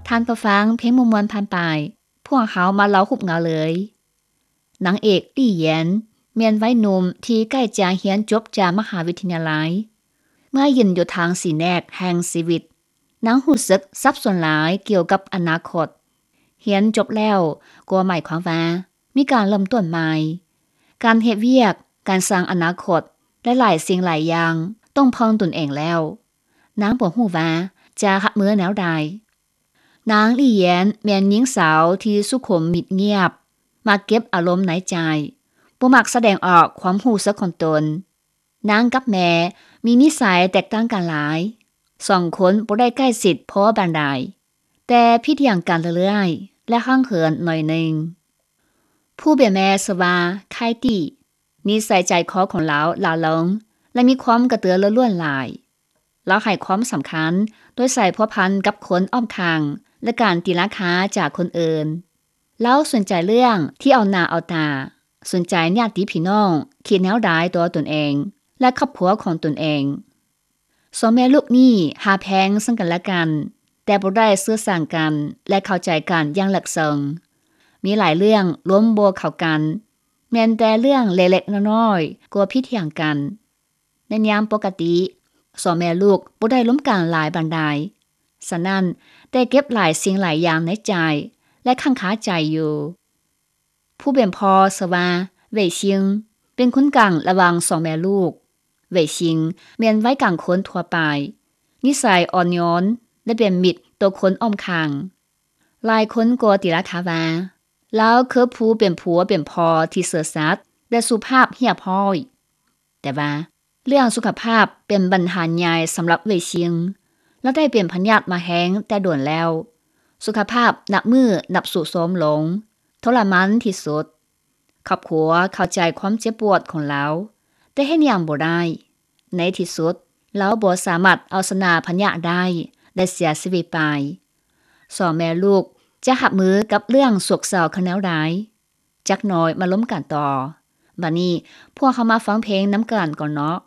ທ່ານຜູ້ຟັງ, ເພງມ່ວນໆຜ່ານໄປ, ພວກເຮົາມາເລົ່າຮູບເງົາເລີຍ. ນາງເອກ ລີ້ ຢຽນ ແມ່ນໄວໜຸ່ມທີ່ໃກ້ຈະຮຽນຈົບຈາກມະຫາວິທະຍາໄລ. ເມື່ອຢືນຢູ່ທາງສີແນກແຫ່ງຊີວິດ, ນາງຮູ້ສຶກສັບສົນຫຼາຍກ່ຽວກັບອະນາຄົດ. ຮຽນຈົບແລ້ວກໍໝາຍຄວາມວ່າມີການເລີ່ມຕົ້ນໃໝ່. ການເຮັດວຽກ, ການສ້າງອະນາຄົດ ແລະ ຫຼາຍສິ່ງຫຼາຍຢ່າງຕ້ອງເພິ່ງຕົນເອງແລ້ວ. ນາງບໍ່ຮູ້ວ່າຈະຮັບມືແນວໃດ. ນາງ ລີ້ ຢຽນ ແມ່ນຍິງສາວທີ່ສຸຂຸມມິດງຽບ, ມັກເກັບອາລົມໃນໃຈ, ບໍ່ມັກສະແດງອອກຄວາມຮູ້ສຶກຂອງຕົນ. ນາງກັບແມ່ມີນິໄສແຕກຕ່າງກັນຫຼາຍ. ສອງຄົນບໍ່ໄດ້ໃກ້ຊິດພໍປານໃດ, ແຕ່ຜິດຫຍັງກັນເລື້ອຍໆ ແລະ ຫ່າງເຫີນໜ້ອຍໜຶ່ງ. ຜູ້ເປັນແມ່ຊື່ວ່າ ໄຄຕີ. ນິໄສໃຈຄໍຂອງລາວຫຼ້າຫຼົງ ແລະ ມີຄວາມກະຕືລືລົ້ນຫຼາຍ. ລາວໃຫ້ຄວາມສຳຄັນໂດຍໃສ່ພົວພັນກັບຄົນອ້ອມຂ້າງ ແລະ ການຕີລາຄາຈາກຄົນອື່ນ. ລາວສົນໃຈເລື່ອງທີ່ເອົາໜ້າເອົາຕາ, ສົນໃຈຍາດຕິພີ່ນ້ອງຄິດແນວໃດຕໍ່ຕົນເອງ ແລະ ຄອບຄົວຂອງຕົນເອງ. ສອງແມ່ລູກນີ້ຮັກແພງເຊິ່ງກັນແລະກັນ, ແຕ່ບໍ່ໄດ້ສື່ສານກັນ ແລະ ເຂົ້າໃຈກັນຢ່າງເລິກເຊິ່ງ. ມີຫຼາຍເລື່ອງລົມບໍ່ເຂົ້າກັນ, ແມ່ນແຕ່ເລື່ອງເລັກໆນ້ອຍໆກໍຜິດຖຽງກັນ. ໃນຍາມປົກກະຕິ, ສອງແມ່ລູກບໍ່ໄດ້ລົມກັນຫຼາຍປານໃດ. ສະນັ້ນ, ແຕ່ເກັບຫຼາຍສິ່ງຫຼາຍຢ່າງໃນໃຈ ແລະ ຄ້າງຄາໃຈຢູ່. ຜູ້ເປັນພໍ່ຊື່ວ່າ ເຫວີຍຊິງ ເປັນຄົນກາງລະຫວ່າງສອງແມ່ລູກ. ເຫວີຍຊິງ ແມ່ນໄວກາງຄົນທົ່ວໄປ, ນິໄສອ່ອນໂຍນ ແລະ ເປັນມິດຕໍ່ຄົນອ້ອມຂ້າງ. ຫຼາຍຄົນກໍຕີລາຄາວ່າ ລາວຄືຜູ້ເປັນຜົວເປັນພໍ່ທີ່ຊື່ສັດ ແລະ ສຸພາບຮຽບຮ້ອຍ. ແຕ່ວ່າເລື່ອງສຸຂະພາບເປັນບັນຫາໃຫຍ່ສຳລັບເຫວີຍຊິງ. ລາວໄດ້ເປັນພະຍາດມາແຮງແຕ່ດົນແລ້ວ. ສຸຂະພາບນັບມື້ນັບຊຸດໂຊມລົງ, ທໍລະມານທີ່ສຸດ. ຄອບຄົວເຂົ້າໃຈຄວາມເຈັບປວດຂອງລາວ, ແຕ່ເຮັດຫຍັງບໍ່ໄດ້. ໃນທີ່ສຸດ, ລາວບໍ່ສາມາດເອົາຊະນະພະຍາດໄດ້ ແລະ ເສຍຊີວິດໄປ. ສອງແມ່ລູກຈະຮັບມືກັບເລື່ອງໂສກເສົ້າຄືແນວໃດ? ຈັກໜ້ອຍມາລົມກັນຕໍ່. ບັດນີ້ພວກເຮົາມາຟັງເພງນຳກັນກ່ອນເນາະ.